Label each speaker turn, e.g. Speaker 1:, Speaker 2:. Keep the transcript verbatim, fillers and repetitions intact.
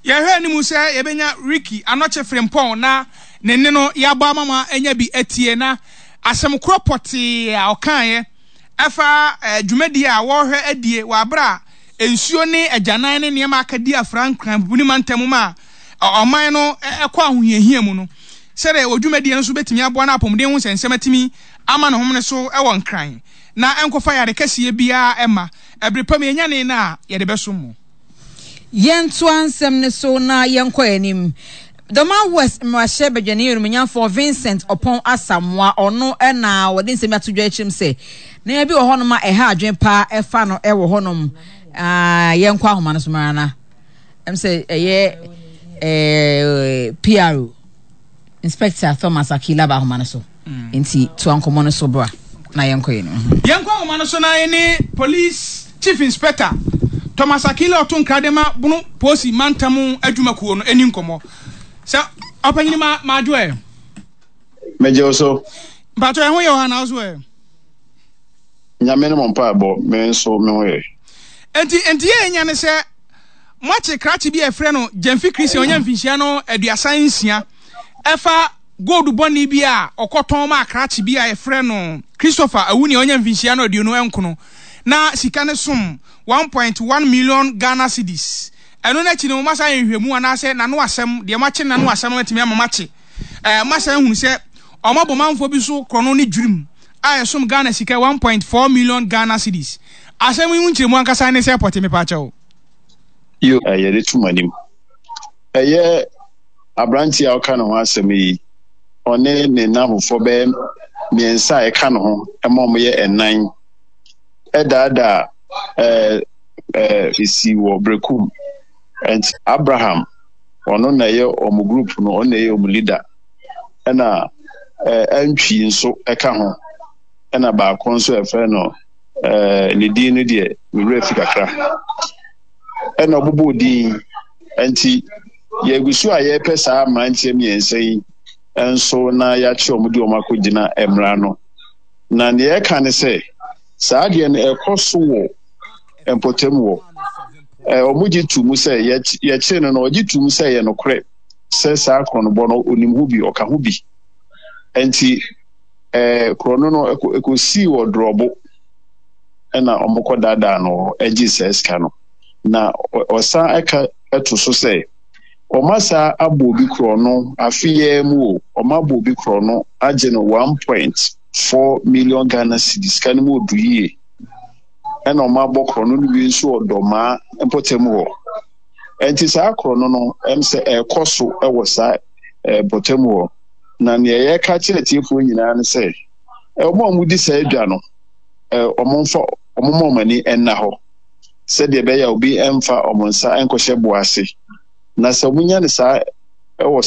Speaker 1: Yɛhwɛ anim sɛ yɛbɛnya Ricky Anɔkye Frimpong na ne nne no yɛabɔ ama mo anya bi atie, na asɛm korɔ pɔtee a ɔkaeɛ ɛfa eh, dwumadie a wɔrehwɛ adie wɔ abere a nsuo ne agyanan ne nneɛma aka di afra Nkran ne mantam mu a ɔman no ɛkɔ ahohiahia mu no, sɛdeɛ wɔ dwumadie no nso bɛtumi aboa no apɔmuden ho nsɛnsɛm atumi ama ne homene so ɛwɔ Nkran na ɛnkɔfa yare kɛseɛ biara ɛma ɛbere pam yɛnya ne no a yɛde bɛsom mu.
Speaker 2: Yɛntoa nsɛm ne so na yɛnkɔ anim. Dormaa West mmarahyɛ badwani onimonyamfoɔ Vincent Ɔpɔn Asamoa, ɔno ɛna wɔde nsɛm ato dwa akyerɛm sɛ nneɛma bi wɔ hɔnom a ɛha adwene paa ɛfa no ɛwɔ hɔnom. Yɛnkɔ ahoma no so mara na ɛm sɛ ɛyɛ ɛɛ P R O Inspector Thomas Akila ba ahoma no so, nti toa nkɔmmɔ no so bra na yɛnkɔ yɛn no.
Speaker 1: Yɛnkɔ ahoma no so na yɛne Police Chief Inspector Thomas Akila ɔto nkrade ma Bono Polisi mantam adwumakuo no ani nkɔmmɔ. Sɛ ɔpanyini ma maadwo ɛ.
Speaker 3: Megye wo so.
Speaker 1: Mpatɔ ɛho yɛ wɔ ha na wo so ɛ?
Speaker 3: Nyame no mo mpaebɔ, me nso me ho yɛ.
Speaker 1: Enti enti yɛ nya ne sɛ moakye krakye bi a ɛfrɛ no Gyamfi Christian, ɔnya mfinhyia no aduasa nsia, ɛfa gold bɔne bi a ɔkɔtɔn ma akrakye bi a yɛfrɛ no Christopher Awuni a ɔnya mfinhyia no aduonu nkono, na sika no som one point one million Ghana cedis. Ɛno n'akyi no, masa yɛ nhwɛmu anaasɛ n'ano asɛm deɛ moakye n'ano asɛm no atumi ama makye ɛɛ masa ehunu sɛ ɔmo abɔ manfoɔ bi so korɔno ne dwirim a ɛsom Ghana sika one point four million Ghana cedis. Asɛm yi ho nkyerɛmu ankasa ne sɛ pɔte mepa kyɛw.
Speaker 3: Yo, yɛde to mo anim, ɛyɛ aberanteɛ a ɔka ne ho asɛm yi, ɔne ne nnamfofoɔ bɛyɛ mmiɛnsa a ɛka ne ho ma ɔmo yɛ ɛnan, ɛdaadaa ɛɛ ɛɛ esi wɔ Brekum. Nti Abraham, ɔno na ɛyɛ ɔmo group no, ɔno na ɛyɛ ɔmo leader, ɛna ɛɛ Antwi nso ɛka ho, ɛna baako nso ɛfrɛ no ɛɛ ne din no deɛ me werɛ fi kakra, ɛna ɔbobɔ din. Nti yɛgu so a yɛrepɛ saa mmeranteɛ mmiɛnsa yi nso na yɛakye wɔn de wɔn akɔgyina mmara no. Na nea ɛka ne sɛ saa adeɛ no ɛkɔ so wɔ mpɔtam wɔ ɛɛ wɔn gye to mu sɛ yɛkyere no no ɔgye to mu sɛ ɛyɛ nokorɛ sɛ saa korɔnobɔ no onim ho bi, ɔka ho bi. Nti ɛɛ korɔno no ɛkɔsii wɔ Dorɔbo, ɛna wɔn kɔ daadaa no ɛgye saa sika no. Na ɔsan ɛka ɛto so sɛ wɔn asa abɔ obi korɔno afe yɛn mu o, wɔn abɔ obi korɔno agye no one point four million Ghana cedis. Sika no mu odu yie. Ɛna wɔn abɔ korɔno no bi nso wɔ Dɔmaa mpɔtam hɔ. Nti saa korɔno no ɛm sɛ ɛrekɔ so ɛwɔ saa ɛɛ mpɔtam hɔ. Na nea yɛreka kyerɛ tiefoɔ nyinaa no sɛ wɔn a wɔdi saa adwa no, ɛɛ wɔn mfa wɔn mma wɔn ani nna hɔ sɛdeɛ ɛbɛyɛ a obi mfa wɔn nsa nkɔhyɛ bo ase, na sɛ wɔnya no saa ɛwɔ